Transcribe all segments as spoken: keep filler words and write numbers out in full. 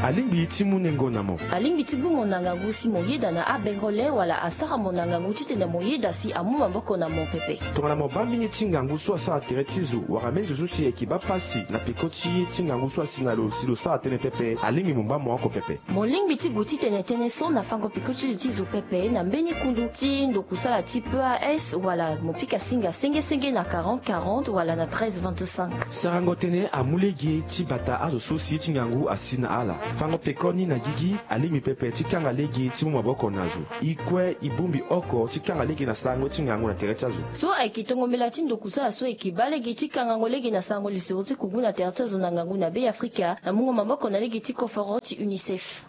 alingbi ti mu nengo na mo. Alingbi ti gbu mo na ngangu si mo yeda na abengole wala asara mo na ngangu titene mo yeda si amu maboko na mo pepe. Tongana mo baa mingi ti ngangu so asara tere ti zo wala mbeni zo so si ayeke baa pasi na peko ti ye ti ngangu so asi na lo si lo sara tënë pepe, alingbi mo baa mo oko pepe. Mo lingbi ti gue titene tënë so na fango peko ti li ti zo pepe na mbeni kundu ti ndokusala ti P A S wala mo pika singa sengesenge na quarante quarante wala na treize vingt-cinq. Sarango tënë amu lege ti bata azo so si ye ti ngangu asi na ala. Fango pekoni na gigi alingbi pepe ti kanga lege ti mu maboko na zo. E kue e bongbi oko ti kanga lege na sarango ti ngangu na tere ti azo. So ayeke tongo mbela ti ndokusala so ayeke baa lege ti kangango lege na sarango lisoro ti kungu na tere ti azo na ngangu na Be Afrika na mungo maboko na lege ti koforo ti UNICEF.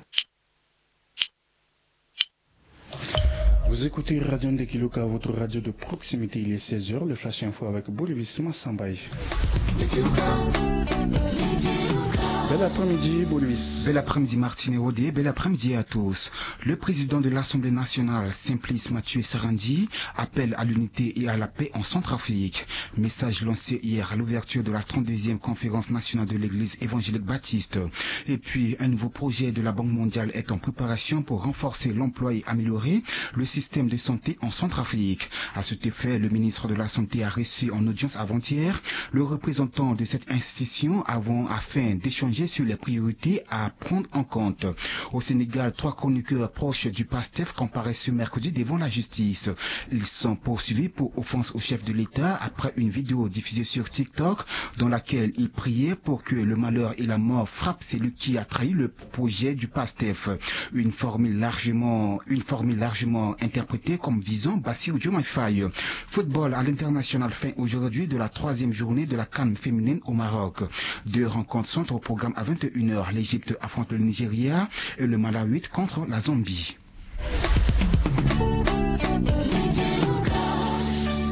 Vous écoutez Radio Ndekiluka, votre radio de proximité. Il est seize heures, le Flash Info avec Bolivis Massambaye. Bel après-midi, Bolivis. Bel après-midi, Martine Rodé. Bel après-midi à tous. Le président de l'Assemblée nationale, Simplice Mathieu Sarandji, appelle à l'unité et à la paix en Centrafrique. Message lancé hier à l'ouverture de la trente-deuxième conférence nationale de l'Église évangélique baptiste. Et puis, un nouveau projet de la Banque mondiale est en préparation pour renforcer l'emploi et améliorer le système de santé en Centrafrique. À cet effet, le ministre de la Santé a reçu en audience avant-hier le représentant de cette institution avant, afin d'échanger sur les priorités à prendre en compte. Au Sénégal, trois chroniqueurs proches du PASTEF comparaissent ce mercredi devant la justice. Ils sont poursuivis pour offense au chef de l'État après une vidéo diffusée sur TikTok dans laquelle ils priaient pour que le malheur et la mort frappent celui qui a trahi le projet du PASTEF. Une formule largement, une formule largement interprétée comme visant Bassirou Diomaye Faye. Football à l'international, fin aujourd'hui de la troisième journée de la CAN féminine au Maroc. Deux rencontres sont au programme à vingt et une heures. L'Égypte affronte le Nigeria et le Malawi contre la Zambie.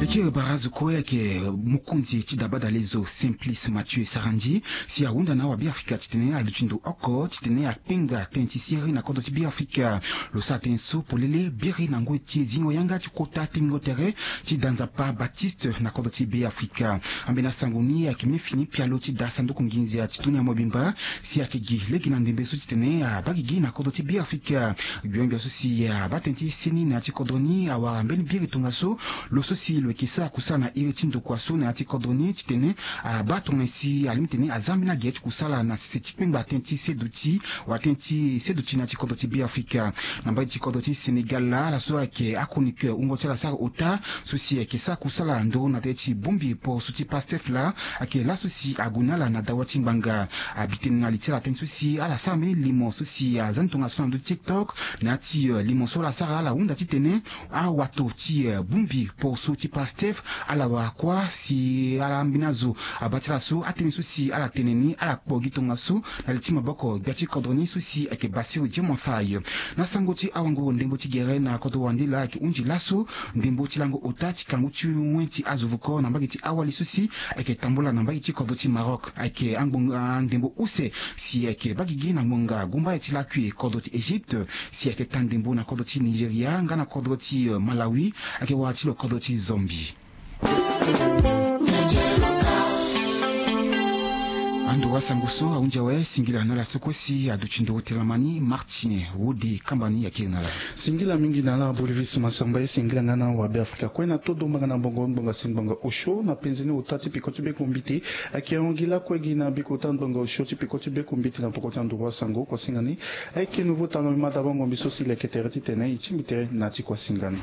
E kiri barazo kue ayeke mokonzi ti dabadalezo Simplice Mathieu Sarandji si ahunda na awabe Afrika titene aluti ndo oko titene akpenga tënë ti siriri na kodro ti Be Afrika. Lo sara tënë so polele biri na ngoi ti e zingo yanga ti kota tingo tere ti da Nzapa Baptiste na kodro ti Be Afrika. Ambeni asango ni ayeke mê fini pialo ti da sanduku nginza ti tuni ya mobimba si ayeke gi lege na ndembe so titene abaa gigi na kodro ti Be Afrika. Gbia-gbia so si abaa tënë ti seni na ya ti kodro ni awara mbeni biri tongaso lo so si lo yeke sara kusala na iri ti ndokua so na ya ti kodro ni titene abaa tongana si alingbi titene aza ambeni ague ti kusala na sese ti kpengba tënë ti seduti wala tënë ti seduti na ya ti kodro ti Be Afrika. Na mbage ti kodro ti Sénégal laa ala so ayeke achroniqueur wungo ti ala sara ota so si ayeke sara kusala nduru na tere ti bongbi poroso ti Pastef laa ayeke laso si ague na ala na dawa ti ngbanga. Abi tënë na li ti ala tënë so si ala sara mbeni limo so si aza ni tongaso na ndö ti TikTok na ya ti limo so ala sara ala hunda titene awato ti bongbi poroso ti Pastef ala wara kuâ si ala ambeni azo abaa ti ala so atënë so si ala tene ni ala kpo gi tongaso na li ti maboko gbia ti kodro ni so si ayeke Bassirou Diomaye Faye. Na sango ti awango ndembo ti gere na kodro wande laa ayeke hunzi laso ndembo ti lango ota ti kangu ti wen ti azo voko na mbage ti awali so si ayeke tambula na mbage ti kodro ti Maroc ayeke angbonga ndembo use si ayeke baa gigi na ngbonga gumbaya ti lakui kodro ti Égypte si ayeke taa ndembo na kodro ti Nigeria nga na kodro ti Malawi ayeke wara ti lo kodro ti Zambie. Ando wasango so ahunzi awe singila na ala so kue si aduti nduru telamani Martine Wode kamba ni akiri na ala. Singila mingi na ala Bolivis Masamba e singila nga na awabe Afrika kue na todo mbanga na mbongo ngbonga si ngbonga osio na penze ni ota ti peko ti beko mbite. Ayeke hon gi lakue gi na bikota ngbonga osio ti peko ti beko mbite na poko ti anduru wasango kua singa ni. Ayeke nouveau tanga mbi ma dabongo mbi so si leke tere titene e tingbi tere na ti kua singa ni.